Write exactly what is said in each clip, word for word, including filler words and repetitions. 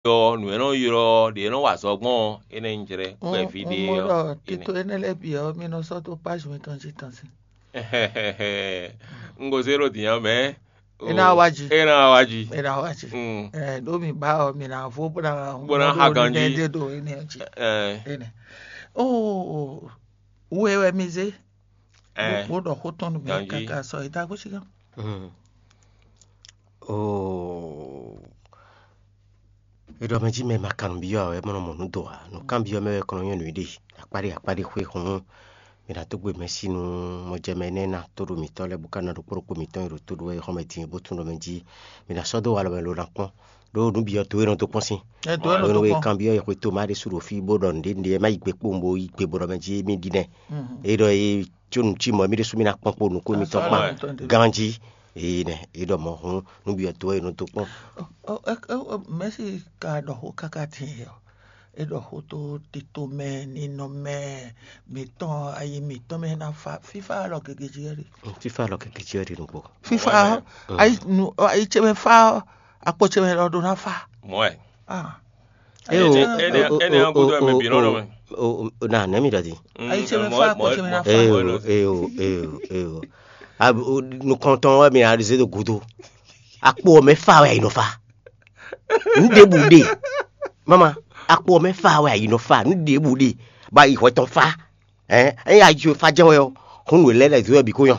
ylɔ́, nǔ e nɔ ylɔ́, ɖě e nɔ wa azɔ̌ gbɔn ɔ́, énɛ́ nyí jlɛ́ kpɛví ɖé ɔ́. Tito énɛ́ lɛ́ɛ bǐ ɔ́, mi nɔ sɔ́ dó pázi mitɔn jí tɔn sín. Un ko zé ɖo dǐn ɔ́ mɛ. É ná wá jí. É ná wá jí. É ná wá jí. Mm. Ɛ ɖó mi ba ɔ, mi ná vo bó ná Bó ná xa ganjí. Ɖé ɖo énɛ́ jí. Ɛ. Énɛ́. Oo, wú é wɛ mi zé. Ɛ. Bó ɖɔ xó tɔn nú mi Ganjí. Kaka sɔ é dá gosí gán. Mm. Oo. È ɖɔ mɛ jí mɛ ma kan nǔ byɔ́ ǎ wɛ, é mɔ nɔ mɔ nǔ dó ǎ. Nǔkanbyɔ́ mɛ wɛ kɔn nɔ nyɔ́ nǔɖé. Akpáɖé akpáɖé xwé hɔn. Mi ná dó gbe mɛ sín nú mɔjɛmɛ énɛ́ ná tó ɖo mǐtɔn lɛ́ɛ bó ka ná ɖo kpó ɖokpó mǐtɔn e ɖo tó ɖo wɛ xɔmɛ din bó tunwun ɖɔ mɛ jí mi ná sɔ́ dó walɔ mɛ lo ná kpɔ́n. Ɖó nǔ byɔ́ to e nɔ dó kpɔ́n sín. Ɛ dó ɛ nɔ Nú dó e kpɔ́n. Kanbyɔ́ e xwé to má ɖé su ɖo fí bó ɖɔ nǔɖé nǔɖé má yi gbe kpó bo yi gbe bo ɖɔ mɛ jí mi ɖi nɛ. Mhm. É ɖɔ é có nǔ cí mɔ̌ mì ɖésú mì ná kpɔ́n kpo nǔkún mitɔn Asɔ́ kpan nɔ tɔn ɖe. Ganjí. Ee nɛ é ɖɔ mɔ̌ hǔn nú byɔ̌ dó wɛ è nɔ dó kpɔ́n. Ɔ, ɔ, ɛ, ɛ, ɔ, Mɛ̌si ka ɖɔ xó káká din ɔ́, é ɖɔ xó tó tito mɛ, ninɔ mɛ, mǐtɔn, ayi mǐtɔn mɛ ná fa fífá alɔ gěgé jí wɛ ɖe. Fífá alɔ gěgé jí wɛ ɖe nukpo. Fífá Mɔ̌ wɛ. Ayi nu ayi ce mɛ fá ɔ́, akpo ce mɛ lɔ ɖó ná fá. Mɔ̌ wɛ. Ah. Eo Ene- ene- ene ɔ́ gúdo wɛ mɛ bǐ nɔ ɖɔ mɛ. O na nɛ̌ mi ɖɔ din? Ayi ce mɛ fá akpo ce mɛ ná fá. Eo eo eo eo. Nukɔntɔn wɛ mi a zé do gudo. Akpo ɔ́ mɛ fa wɛ ayi nɔ fa. Nu ɖěbǔ ɖe. Mama, akpo ɔ́ mɛ fa wɛ ayi nɔ fa. Nu ɖěbǔ ɖe. Ba yi hwɛ tɔn fa. Ɛ ɛ ya yi fa jɛ wɛ ɔ. Hun nǔ lɛ lɛ zó wɛ bǐ ko nyɔ.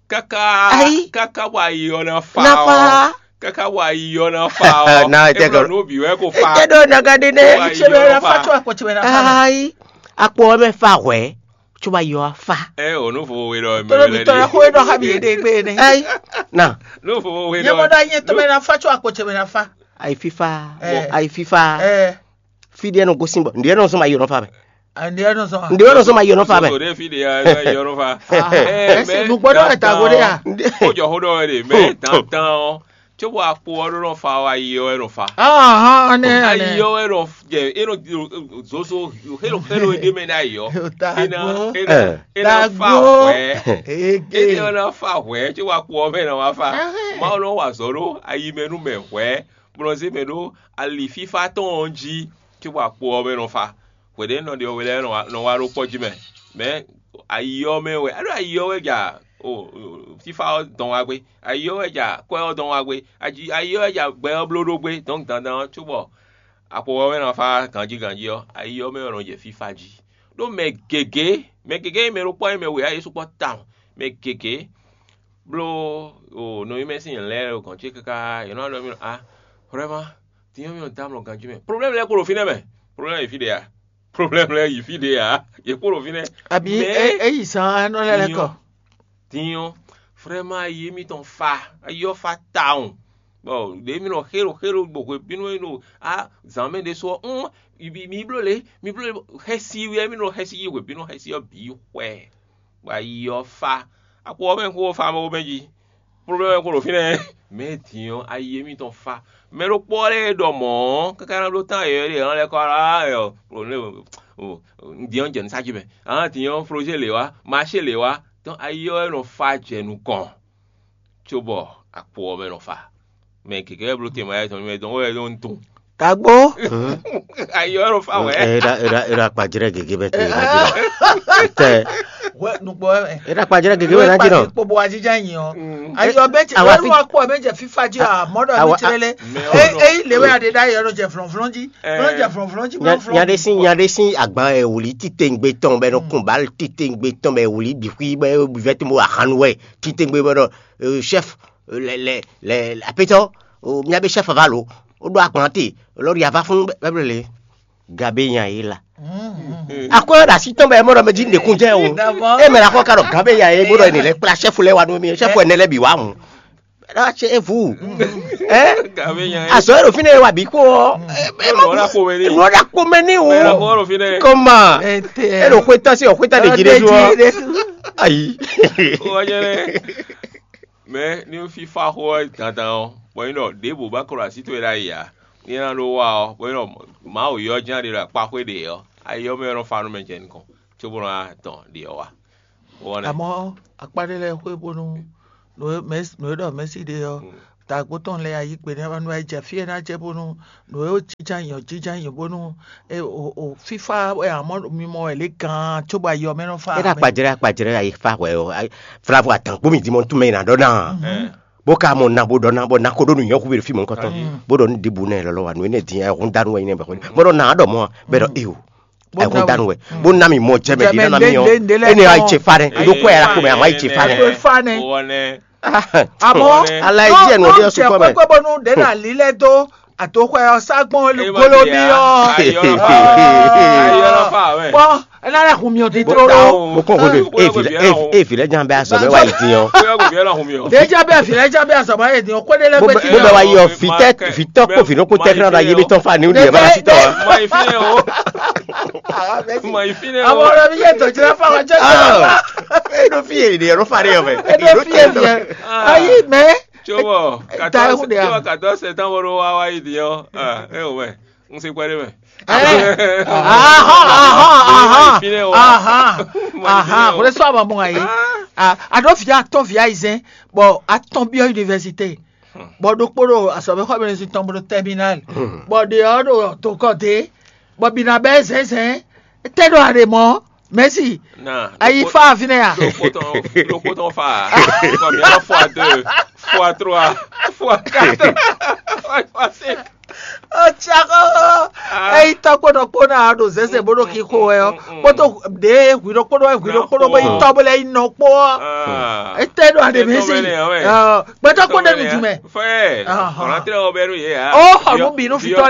Kaka Ayi. Kaka bɔ ayi ɔ́ ná fa Ná fa. Ɔ́. Kaka bɔ ayi ɔ́ ná fa ɔ́. Ná é tɛ kɔ. Nú bǐ wɛ ko fa. Ete ɖo naga ɖe nɛ. Wá Ayi ce mɛ yɔ na fa fa. Tso akpɔ ce mɛ na fa. Ayi. Akpɔ ɔ́ mɛ fa hwɛ. Tso ba yɔ fa. Ɛ o nu fo we ɖɔ mi Tolo wɛ bi lɛ tɔlɔ ko ɖi. E ɖɔ xa bi ye ɖe gbe ne. Ayi. Na. Nu fo we Nye ɖɔ. Mɔ ɖɔ nye tɔmɛ na fa tso akpɔ ce mɛ na fa. Ayi fifa. Ɛ. Ayi fifa. Ɛ. Fi ɖe nɔ gosin bɔ. Ndi nɔ sɔn ma yɔ nɔ fa mɛ. Ndi nɔ sɔn. Ndi nɔ sɔn ma yɔ nɔ fa mɛ. Soso ɖe fi ɖe ya yɔ nɔ fa. Ɛ Ɛsi mɛ nugbɔ ɖɔ ɛ tago ɖe ya. Ndi. Ó jɔ xó ɖɔ wɛ ɖe mɛ tantan ɔ́. Tso bɔ akpo ɔ́ ɖó nɔ fa ɔ́ ayi ɔ́ wɛ nɔ fa. Ahán ne Ayi ne. Ɔ́ wɛ nɔ jɛ é nɔ zozo xélo xélo é ɖe mɛ ɖ'ayǐ ɔ́. É ná Tago. É ná é ná fa Tago. Hwɛ. É Ege. Ná ná fa hwɛ tso bɔ akpo ɔ́ mɛ ná wá fa. Ahán. Mawu nɔ wa azɔ̌ ɖó ayi mɛ nú mɛ hwɛ. Bó nɔ zé mɛ ɖó ali fífá tɔn ɔ́ jí cóbɔ akpo ɔ́ mɛ nɔ fa. Hwɛɖěnɔ ɖe ɔ́ we lɛ́ɛ nɔ wá ɖó kpɔ́ jí mɛ. Mɛ̌ ayi ɔ́ mɛ wɛ, é ɖo ayi ɔ́ wɛ ja o fífá ɔ́ dɔn wá gbé. Ayi ɔ́ wɛ ja kwɛ́ ɔ́ dɔn wá gbé. Ayi ɔ́ wɛ ja gbɛ ɔ́ bló ɖó gbé dɔ̌n dandan ɔ́ cóbɔ akpo ɔ́ mɛ nɔ fá ganjí ganjí ɔ́, ayi ɔ́ mɛ wɛ nɔ jɛ fífá jí. Ɖó mɛ gěgé, mɛ gěgé e mɛ ɖokpó ɔ́ nyí mɛ wěwá Jezu kpɔ́ tawun. Mɛ gěgé bló o nɔví mɛ sín nyɛ̌ lɛ́ɛ ɖo gɔ̌n ce káká yě nɔ ɖɔ mì ɖɔ a hwlɛ́nma din ɔ́ mì nɔ dɔ́ amlɔ ganjí mɛ. Problème lɛ́ɛ kpo ɖo fínɛ́ mɛ. Problème yi fí ɖé a? Problème lɛ́ɛ yi fí ɖé a? Yě kpo ɖo fínɛ́. Àbí Mɛ é é yi zan anɔ lɛ́ɛ lɛ́ din kɔ. Ɔ́, din ɔ́, vraiment ayi émítɔn fa, ayi ɔ́ fa tawun. Bɔ ɖě mì nɔ xélo xélo ɖo hwebínú e ɖo a zǎn mɛ ɖésú ɔ́, un mi bló lě, mi bló lě, xɛsi wɛ mì nɔ xɛsi yi hwebínú xɛsi ɔ́ bǐ xwɛ. Bɔ ayi ɔ́ fa. Akpo ɔ́ mɛ xó ɔ́ fa mɛ wó mɛ jí. Problème ko ɖo fínɛ́. Mɛ din ɔ́ ayi émítɔn fa. Mɛ ɖokpó ɔ́ lɛ́ɛ ɖɔ mɔ̌ káká ná ɖó tán yɛ ɖe hɔn lɛ́ kɔ ɖo aa ɛ ɔ din ɔ́ jɛ nǔsájí mɛ. Hǎn din ɔ́ flozé lě wá, maṣé lě wá. Tɔn ayi ɔ́ wɛ nɔ fa jɛ nukɔn. Cóbɔ akpo ɔ́ mɛ nɔ fa. Mɛ gěgé wɛ bló te ma yɛ tɔn mɛ dɔn wɛ ɖo ń tun. Tagbo. Ayi ɔ́ nɔ fa wɛ. Era era era kpajrɛ gege bɛ te na jira. Tɛ. Wɛ nugbɔ wɛ. Era kpajrɛ gege bɛ na jira. Kpogbo ajija yin ɔ. Ayi ɔ bɛ ti Awa wɛ fi- nu akpɔ bɛ jɛ fifa ji a mɔdɔ Awa- mi tirɛ lɛ. Mɛ Eyi ɔnɔ. Eyi lewe ade da yɛ ɔnɔ jɛ flɔnflɔn ji. Ɔnɔ jɛ flɔnflɔn ji. Nyaɖe sin nyaɖe sin agban ɛ wòlí titengbe tɔn bɛ nɔ kun bali titengbe tɔn bɛ wòlí bixwi bɛ bivɛ tɔn bɔ ahanu wɛ titengbe bɛ nɔ chef lɛ lɛ lɛ apetɔ miabe chef va lo o ɖo agban te lɔri ava fún bɛbɛlɛ gabe nya yi la akɔ ɖo asi tɔn bɛ mɔ ɖɔ mɛ dzi nɛkun jɛ o e mɛ la kɔ ka ɖɔ gabe nya yi bó ɖɔ ne lɛ kpla chef lɛ wa nú mi chef ɛnɛ lɛ bi wa mu ɛɖɔ tse evu ɛ Gabe nya yi. Azɔ yɛ ɖo fi ne wa bi kpó Yóò lọ ɖa kpomɛ ní. Lɔ ɖa kpomɛ ní o Mɛ la kɔ ɖo fi nɛ. Kɔma Ete. E ɖo xwetɔ si o xwetɔ de dzi ɖe ju ɔ ayi. Wọ́n jẹ́ lẹ́. Mɛ ní fífá xó ɔ́ dandan ɔ́, bɔ nyí ɖɔ ɖěbǔ ba kɔ ɖo así towe ɖ'ayǐ ǎ. Ní é ná ɖó wa ɔ́, bɔ nyí ɖɔ Mawu yɔ ján ɖe ɖo akpaxwé ɖe ɔ́, ayi ɔ́ mɛ ɔ́ nɔ fa nú mɛ jɛ nukɔn, cóbó nɔ wá dɔn ɖě ɔ́ wá. Wɔ nɛ. Àmọ́ apá ɖé lɛ́ɛ xwé bónú nǔ e mɛ̌s- nǔ e ɖɔ mɛ̌si ɖe ɔ́, Mm. Dagbo tɔn lɛ ayigbe nɛ wá nú wá jɛ fí e ná jɛ bónú nǔ e jínjɔ́n ayǐ ɔ́ jínjɔ́n ayǐ bónú o fífá wɛ amɔ̌ mi mɔ wɛ lě gán cóbɔ ayi ɔ́ mɛ nɔ fá. É ɖo akpajlɛ́ akpajlɛ́ ayi fá hwɛ ɔ́. Flavu atǎnkpó mi dimɔ tún mɛ yi ná ɖɔ ná. Bó ka mɔ na bó ɖɔ ná bɔ ná ko ɖó nǔ nyɔ́ kú wɛ ɖo fí mɔ̌ kɔtɔn. Bó ɖɔ ní ɖěbǔ nɛ lɔlɔ wa nǔ énɛ́ din ayɛhún dánú wɛ nyí nɛ bɛxwé. Bó ɖɔ ná ɖɔ mɔ̌ a bɛ ɖɔ iyo. Ayɛhún dánú wɛ bó ná mi mɔ jɛ mɛ ɖi ná ná mi ɔ́. Énɛ́ ayi ce fa nɛ ɖó kɔ yàrá ko mɛ àwọn ayi ce fa nɛ. Amɔ̌ alayi díẹ̀ nù ɔdí ɔsùn kɔ mɛ. Kpɛkpɛ bɔnu ɖě na lílẹ̀ dó àtòxwɛ ɔ́ ságbɔn golomi ɔ́. Bɔn ena lɛ hun miɔ titro ɖo. Mo kɔ ko do e vi lɛ e vi lɛ jan bɛ azɔ mɛ wa yi din ɔ. Ɖe jan bɛ vi lɛ jan bɛ azɔ mɛ wa yi din ɔ kó ɖe lɛ gbé ti. Mo bɛ wa yi ɔ vitɛ vitɔ kó vi nɔ kó tɛ fúnra la yé mi tɔn fa ni wuli yɛ bá si tɔ. Mayi fi nɛ o. Mayi fi nɛ o. Àwọn ọ̀rẹ́ mi yẹ tọ̀jú ẹ fáwọn jẹ́ jẹ́ wa. E ɖo fi yɛ ɖe yɛ ɖo fa ɖe yɔ mɛ. E ɖo fi yɛ yɛ. Ayi mɛ. Tsobo, quatorze septembre ɖo wa wa yi din ɔ. E o wɛ. N se kpɛɖé mɛ. Ahán ahán ahán ahán. Ahán kò lè sọ àwọn ọmọ ayé. A ɖo fi atɔn fi ayizɛn bɔ atɔn bi ɔ université bɔ ɖokpó ɖo asɔmɛxɔ mi lè si tɔn bó ɖo terminal bɔ ɖe ɔ ɖo tokɔ dé bɔ bi na bɛ zɛnzɛn tɛ ɖo aɖe mɔ mɛsi ayi fa afi nɛ ya. Ɖokpó tɔn fa. Kɔmi ala fois deux, fois trois, fois quatre, fois cinq. Otsiaxɔ eyi tɔ kpɔnɔ kpɔnɔ a ɖo zɛzɛ bó ɖo xixo wɛ ɔ kpɔtɔ ɖe hwi ɖo kpɔnɔ hwi ɖo kpɔnɔ bó yi tɔ bó lɛ yi nɔ kpɔ ɔ. Ete ɖo aɖe mi si gbɛtɔ kpɔnɔ nu jumɛ. Fɛ ɔlɔntrɛ wɔ bɛ ɖo yɛ ya. O xɔ nu bi nu fitɔ